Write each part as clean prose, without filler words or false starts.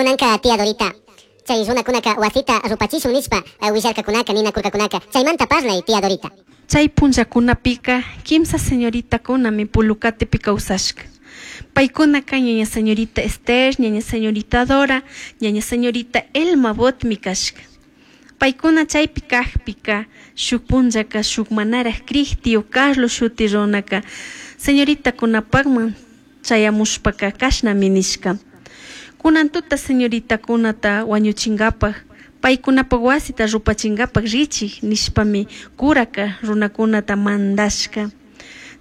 Kunanka tía Dorita, chay runakunaka wasita rupachishun nishpa willarkakunaka ninakurkakunaka chaymanta parlay tía Dorita. Chay punllakunapika kimsa señoritakunami Pulucatepi kawsashka. Paykunaka ñaña señorita Esther, ñaña señorita Dora, ñaña señorita Elma Botmi kashka. Paykuna chaypi kajpika shuk punllaka shuk manaraj krij tío Carlos shuti runaka señoritakunapakman chayamushpaka kashnami nishka. Kunan tuta señoritakunata wañuchinkapak paykunapak wasita rupachinkapak richik nishpami kuraka runakunata mandashka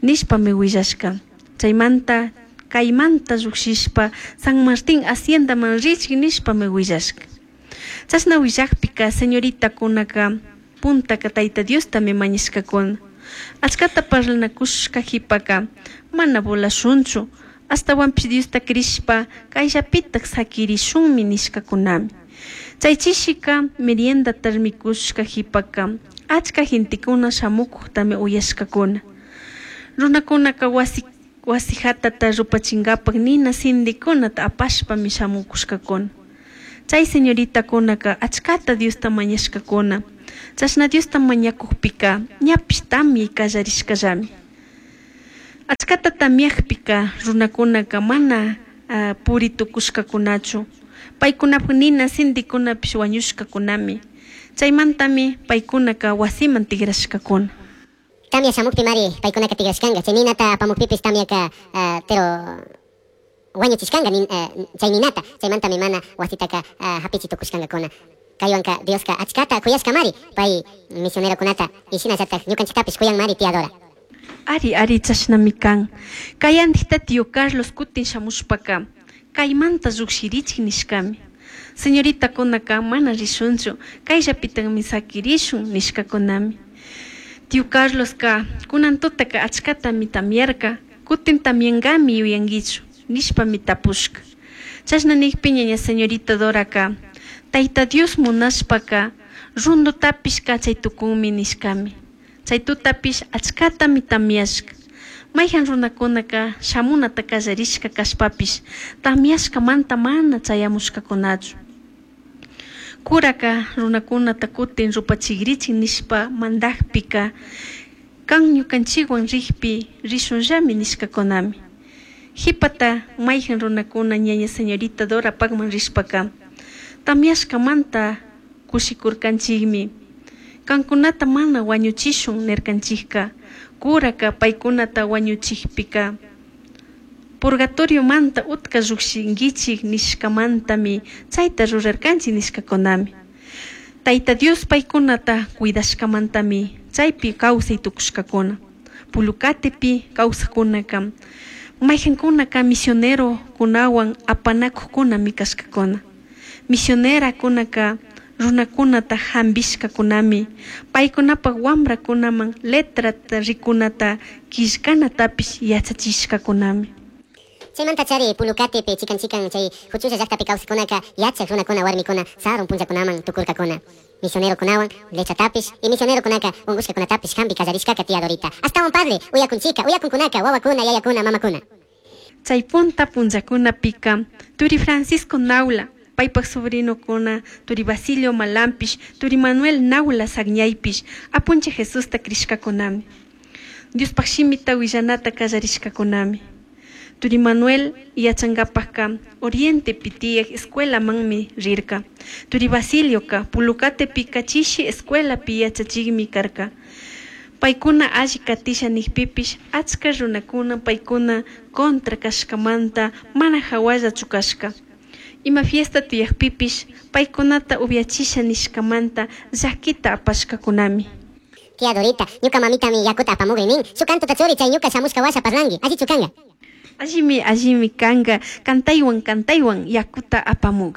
nishpami willashka. Chaymanta kaymanta llukshishpa San Martín haciendaman richik nishpami willashka. Chashna willakpika señoritakunaka puntaka Tayta Diostami mañashkakuna. Achkata parlanakushka qhipaka mana volashunchu ashtawanpish Diosta crishpa kayllapitak sakirishunmi nishkakunami. Chay chishika meriendata mikushka qhipaka achka gentekuna shamukuktami uyashkakuna. Runakunaka wasi wasi hatata rupachinkapak nina sindikunata apashpami shamukushkakuna. Chay señoritakunaka achkata Diosta mañashkakuna. Chashna Diosta mañakukpika ñapish tamyay kallarishkallami. Achkata tamyakpika runakunaka mana puri tukushkakunachu. Paykunapak nina sindikunapish wañushkakunami. Chaymantami paykunaka wasiman tigrashkakuna. Tamya shamukpimari paykunaka tigrashkanka chay ninata apamukpipis tamyaka pero wañuchishkanka chay ninata chaymantami mana wasitaka hapichi tukushkankakuna. Kaywanka Dioska achkata kuyashkamari pay misionerokunata y shinallatak ñukanchiktapish kuyanmari tía Dora. Ari, ari, chashnami kan. Kayandikta tío Carlos kutin shamushpaka kaymanta llukshirichik nishkami. Señoritakunaka mana rishunchu kayllapitakmi sakirishun nishkakunami. Tío Carloska kunan tutaka achkatami tamyarka kutin tamyankami yuyankichu nishpami tapushka. Chashna nikpi ñaña señorita Doraka Tayta Dios munashpaka rundutapish kachay tukunmi nishkami. Chay tutapish achkatami tamyashka. Mayhan runakunaka shamunata kallarishka kashpapish tamyashkamanta mana chayamushkakunachu. Kuraka runakunata kutin rupachikrichik nishpa mandakpika kan ñukanchikwan rikpi rishunllami nishkakunami. Qhipata mayhan runakuna ñaña señorita Dorapakman rishpaka tamyashkamanta kushikurkanchikmi. Kankunata mana wañuchishun nirkanchikka kuraka paykunata wañuchikpika purgatoriomanta utka llukshinkichik nishkamantami chayta rurarkanchik nishkakunami. Tayta Dios paykunata cuidashkamantami chaypi kawsay tukushkakuna. Pulucatepi kawsakkunaka mayhankunaka misionerokunawan apanakuqkunami kashkakuna. Misionerakunaka runakunata hampishkakunami paykunapak wamrakunaman letrata rikunata killkanatapish yachachishkakunami. Chaymanta chari Pulucatepi chikan chikan chay huchulla llaqtapi kawsaqkunaka yachaq runakuna warmikuna sarun punllakunaman tukurkakuna. Misionerokunawan letratapish y misionerokunaka unqushkakunatapish hampi kallarishkaka tía Dorita. Ashtawan parle uyakunchika uyakunkunaka wawakuna yayakuna mamakuna. Chay punta punllakunapika turi Francisco Naula paypak sobrinokuna turi Basilio Malampish turi Manuel Naula Sagñaypish apunchik Jesusta crishkakunami. Diospaq shimita willanata kallarishkakunami. Turi Manuel yachankapakka Orientepi tiyak escuelamanmi rirka. Turi Basilioka Pulucatepika chishi escuelapi yachachikmi karka. Paykuna alli katisha nikpipish achka runakuna paykuna contra kashkamanta mana hawallachu kashka. Ima fiesta tiyakpipish paykunata upyachisha nishkamanta llakita apashkakunami. Tía Dorita, ñuka mamitami yakuta apamugri nin. Shuk kantuta churi chay ñuka shamushka washa parlanki. Allichu kanka. Allimi allimi kanka kantaywan kantaywan yakuta apamugri.